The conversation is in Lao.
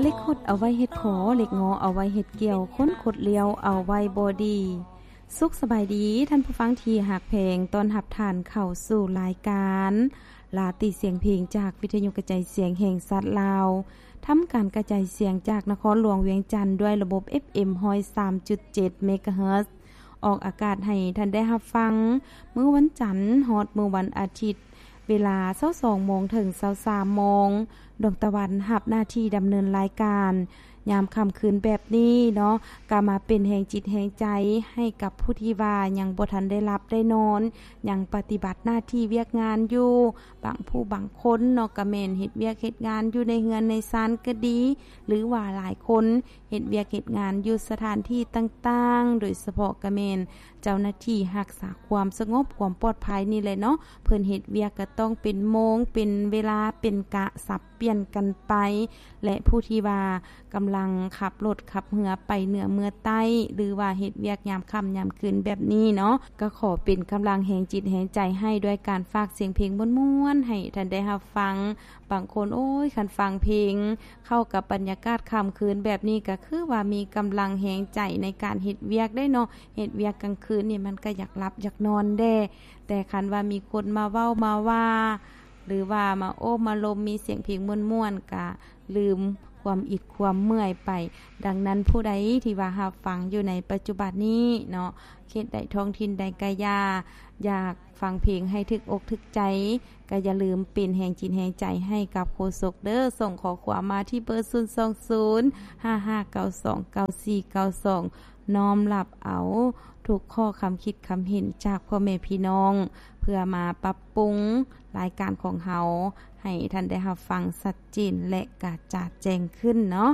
ເຫຼັກຫົດເອົາໄວ້ເຮັດຂໍ ເຫຼັກງໍເອົາໄວ້ເຮັດກ່ຽວ ຄົນຄົດລ້ຽວເອົາໄວ້ບໍ່ດີ. ສຸກສະບາຍດີ ທ່ານຜູ້ຟັງທີ່ຮັກແພງ, ຕ້ອນຮັບທ່ານເຂົ້າສູ່ລາຍການລາຕີສຽງເພງ ຈາກວິທະຍຸກະຈາຍສຽງແຫ່ງຊາດລາວ, ທຳການກະຈາຍສຽງຈາກນະຄອນຫຼວງວຽງຈັນ ດ້ວຍລະບົບ ເອັຟເອັມ ຮ້ອຍສາມຈຸດເຈັດ ເມກາເຮີດ ອອກອາກາດໃຫ້ທ່ານໄດ້ຮັບຟັງ ມື້ວັນຈັນຮອດມື້ວັນອາທິດ ເວລາຊາວສອງໂມງເຖິງຊາວສາມໂມງ. ດວງຕາວັນຮັບໜ້າທີ່ດຳເນີນລາຍການ ຍາມຄ່ຳຄືນແບບນີ້ເນາະ ກະມາເປັນແຮງຈິດແຮງໃຈໃຫ້ກັບຜູ້ທີ່ວ່າຍັງບໍ່ທັນໄດ້ຫຼັບໄດ້ນອນ, ຍັງປະຕິບັດໜ້າທີ່ວຽກງານຢູ່. ບາງຜູ້ບາງຄົນເນາະ ກະແມ່ນເຮັດວຽກເຮັດງານຢູ່ໃນເຮືອນໃນຊານກະດີ ຫຼືວ່າຫຼາຍຄົນ ເຮັດວຽກເຮັດງານຢູ່ສະຖານທີ່ຕ່າງໆ, ໂດຍສະເພາະກະແມ່ນເຈົ້າໜ້າທີ່ຮັກສາຄວາມສະຫງົບຄວາມປອດໄພນີ້ແຫຼະເນາະ, ເພິ່ນເຮັດວຽກກະຕ້ອງເປັນໂມງ ເປັນເວລາ ເປັນກະສັບປ່ຽນກັນໄປ ແລະ ຜູ້ທີ່ວ່າກຳລັງຂັບລົດຂັບເຮືອໄປເໜືອເມືອໃຕ້ ຫຼືວ່າເຮັດວຽກຍາມຄ່ຳຍາມຄືນແບບນີ້ເນາະ ກະຂໍເປັນກຳລັງແຮງຈິດແຮງໃຈໃຫ້ ດ້ວຍການຝາກສຽງເພງມ່ວນໆໃຫ້ທ່ານໄດ້ຮັບຟັງ. ບາງຄົນ ໂອ້ຍ ຄັນຟັງເພງ ເຂົ້າກັບບັນຍາກາດຄ່ຳຄືນແບບນີ້ ກະຄືວ່າມີກຳລັງແຮງໃຈໃນການເຮັດວຽກໄດ້ເນາະ, ເຮັດວຽກກາງຄືນນີ້ມັນກະຢາກຫຼັບຢາກນອນແດ່. ແຕ່ຄັນວ່າມີຄົນມາເວົ້າມາວ່າ ຫຼືວ່າມາໂອ້ມາລົມ ມີສຽງເພງມ່ວນໆ ກະລືມຄວາມອິດຄວາມເມື່ອຍໄປ. ດັ່ງນັ້ນ ຜູ້ໃດທີ່ວ່າຮັບຟັງຢູ່ໃນປັດຈຸບັນນີ້ເນາະ ເຂດໃດທ້ອງຖິ່ນໃດກະຢ່າ ຢາກຟັງເພງໃຫ້ຖືກອົກຖືກໃຈ ກະຢ່າລືມເປັນແຮງຈິດແຮງໃຈໃຫ້ກັບໂຄສົກເດີ້. ສົ່ງຂໍ້ຄວາມມາທີ່ເບີ ສູນສອງສູນ ຫ້າຫ້າເກົ້າສອງ ເກົ້າສີ່ເກົ້າສອງ ນ້ອມຮັບເອົາທຸກຂໍ້ຄຳຄິດຄຳເຫັນຈາກພໍ່ແມ່ພີ່ນ້ອງ ເພື່ອມາປັບປຸງລາຍການຂອງເຮົາໃຫ້ທ່ານໄດ້ຮັບຟັງຊັດເຈນ ແລະ ກະຈາດແຈ້ງຂຶ້ນເນາະ.